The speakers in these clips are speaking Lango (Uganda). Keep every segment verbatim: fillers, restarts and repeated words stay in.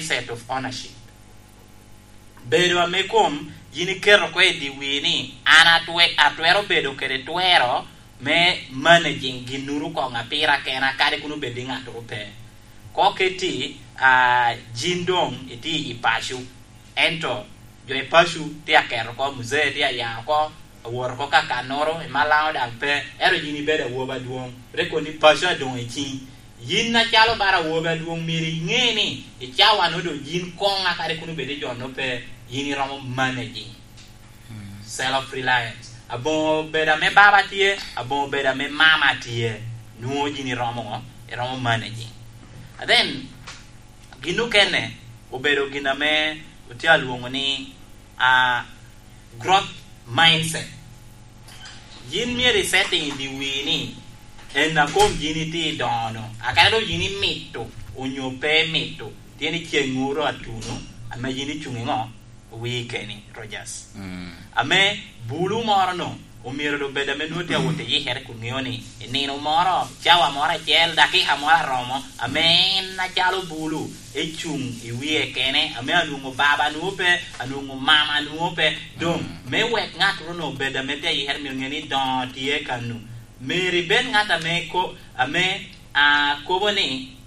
mindset of ownership. Bedo ame kom yin iketo oko i dyewii ni, an atwe-, atwero bedo kede twero me managing ginnoro koŋ a pira kena, kadi kun obed ni ŋattoro pe. Koŋ keti, ah, yin doŋ itye i paco, ento jo i paco tye aketo oko, muzee tye aya oko, awot oko kakannoro, i Malaŋo daŋ pe, ento yin ibedo awobi adwoŋ. Rik kono ni paco adoŋ i ciŋi. Yin acalo bala awobi adwoŋ myero iŋe ni i cawa-nu doŋ yin koŋ a kadi kun obed ni jo-nu pe, yin iromo managing. Self reliance. Aboŋo bedo ame baba tye, aboŋo bedo ame mama tye. Nwoŋo yin iromo ŋo? Iromo managing. And then, gin okene obedo gin ame otye alwoŋo ni, ah, growth mindset. Yin myero i setting i dyewii ni, en a kom yin itye i doŋo-nu. Akene doŋ yin imito, onyo pe imito, tye ni ceŋŋoro atuno, ame yin icuŋ i ŋo? Wii keni, Rogers. Mm. Ame bulu moro-nu, omyero doŋ bed ame nwoŋo tye awot i yikere kun ŋeo ni, i nino moro, cawa moro acel, dakika moro aromo, ame en acalo bulu, ecuŋ i wie kene, ame anwoŋo baba nwoŋo pe, anwoŋo mama nwoŋo pe. Doŋ, mm, me wek ŋattoro-nu obed ame tye ayikere, myero ŋe ni doŋo tye kanu. Myero ibed ŋat ame ko-, ame, ah, kobo ni,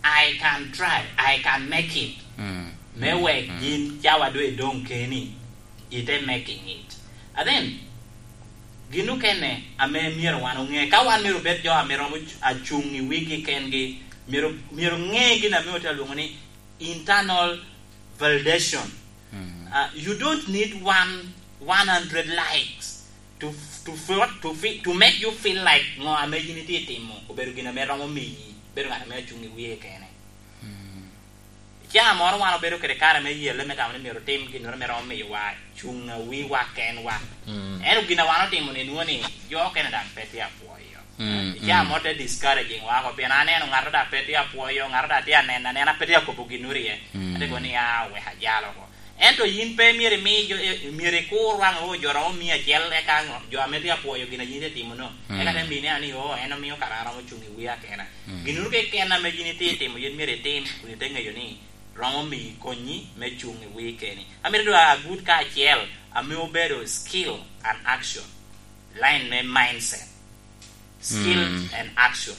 "I can try, I can make it." Mm. Me, mm, wek, mm, yin cawa doŋ idoŋ keni, ite making it. And then, gin okene ame myero wan oŋe, ka wan myero obed jo ame romo cu-, acuŋ i wigi kengi, myero, myero ŋe gin ame otye alwoŋo ni internal validation. Mm. Uh, you don't need one, one hundred likes to, to feel, to feel, to make you feel like ŋo ame yin itye timo obedo gin ame romo miyi bedo ŋat ame acuŋ i wie kene. Mm. I caa moro wan obedo kede kare me yelle me tamo ni myero otim ginnoro me romo miyowa cuŋ a wiwa kenwa. Mm. Ento gin a wan otimo ni nwoŋo ni jo okene daŋ pe tye apwoyo. Mm, i caa, mm, moro te discouraging wa oko, pien aneno ŋato daŋ pe tye apwoyo, ŋato daŋ tye aneno anena, pe tye akobo ginnoro iye. Mm. Ate kobo ni, "Ah, wek ajal oko." Ento yin pe myero imi jo, eh, myero ikur waŋ, "Oh, jo romo mia acel eka ŋo, jo ame tye apwoyo gin a yin itye timo-nu." Mm. Eka te mini ni, "Oh, en omio kara an romo cuŋ i wia kena." Mm. Ginnoro keken ame yin itye timo, yin myero itim, kun ite ŋeyo ni romo miyi konnyi me cuŋ i wii keni. Amito dwa agut kacel ame obedo skill and action. Line me mindset. Skill, mm, and action.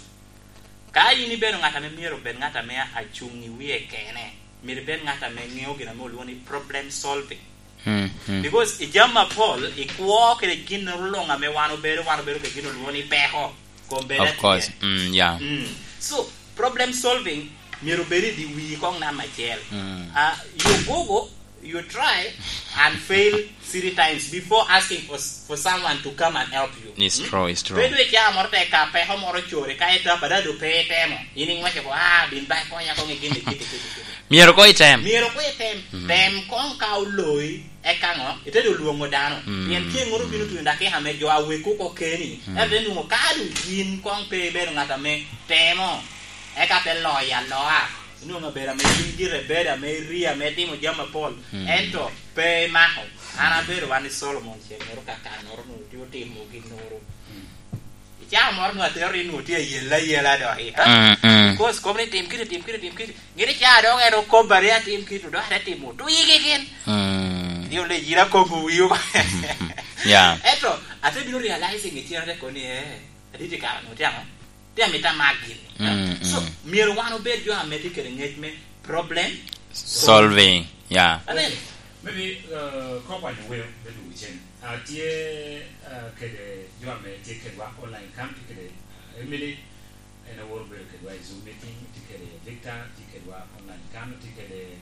Ka yin ibedo ŋat ame myero obed ŋat ame acuŋ i wie kene, myero ibed ŋat ame ŋeo gin ame olwoŋo ni problem solving. Mm, mm. Because i jami apol, ikwo kede gin luŋ ame wan obedo, wan obedo kede gin olwoŋo ni peko. Kom bed atye. Of course. Mm, yeah. Mm. So, problem solving myero obed i di wii koŋ nam acel. Mm. Ah, you go go, you try and fail three times before asking for, for someone to come and help you. It's, mm, true, it's true. Bedo i caa moro te ka peko moro core, ka ita pa dado pe itemo. Yin iŋwece ko, "Ah, bin ba ikonya koŋ i gin i kiti, kiti, kiti." Myero koŋ item. Myero koŋ item. Mm. Tem koŋ ka oloi, eka ŋo? Ite dok lwoŋo dano. Mm. Pien tye ŋoro bino tuno dakika ame jo a wek oko keni. Mm. Ento te nwoŋo ka dok yin koŋ pe ibedo ŋat ame temo, eka te loyo aloa. Inwoŋo abedo ame yin gire bedo ame iri, ame itimo jami apol. Mm. Ento pe imako. An abedo wan i Solomon ceng ŋoro ka kannoro nwoŋo tye otimo ginnoro. Mm. I caa moro nwoŋo atero ni nwoŋo tye ayela ayela dok i, ah? Mm, mm. Because kom ni tim kiti, tim kiti, tim kiti. Gin i caa dok en okobba ni atim kiti, dok ate timo. Tu yigi gin. Mm. Ni ole yira kobo wiyo. Yeah. Ento, ate bino realizing i cen ate koni, eh, aditi kara nwoŋo tye aŋo? Tye amito amak gini. Mm, so, mm, myero wan obed jo ame tye kede ngec me problem solving. Solving, yeah. Amen. Maybe, uh, kop wan iweo me dwogo cen. Ah, tye, ah, kede jo ame tye kedwa online kan, tye kede, ah, Emily, en aworo bedo kedwa i Zoom meeting, tye kede Victor, tye kedwa online kan, tye kede,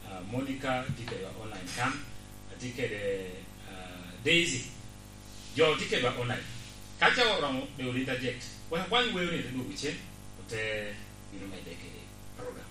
ah, Monica, tye kedwa online kan, tye kede, ah, Daisy. Jo tye kedwa online. Ka ca oromo, be ol interject. Wek akwany weo ni te dwogo cen, ote bino medde kede program.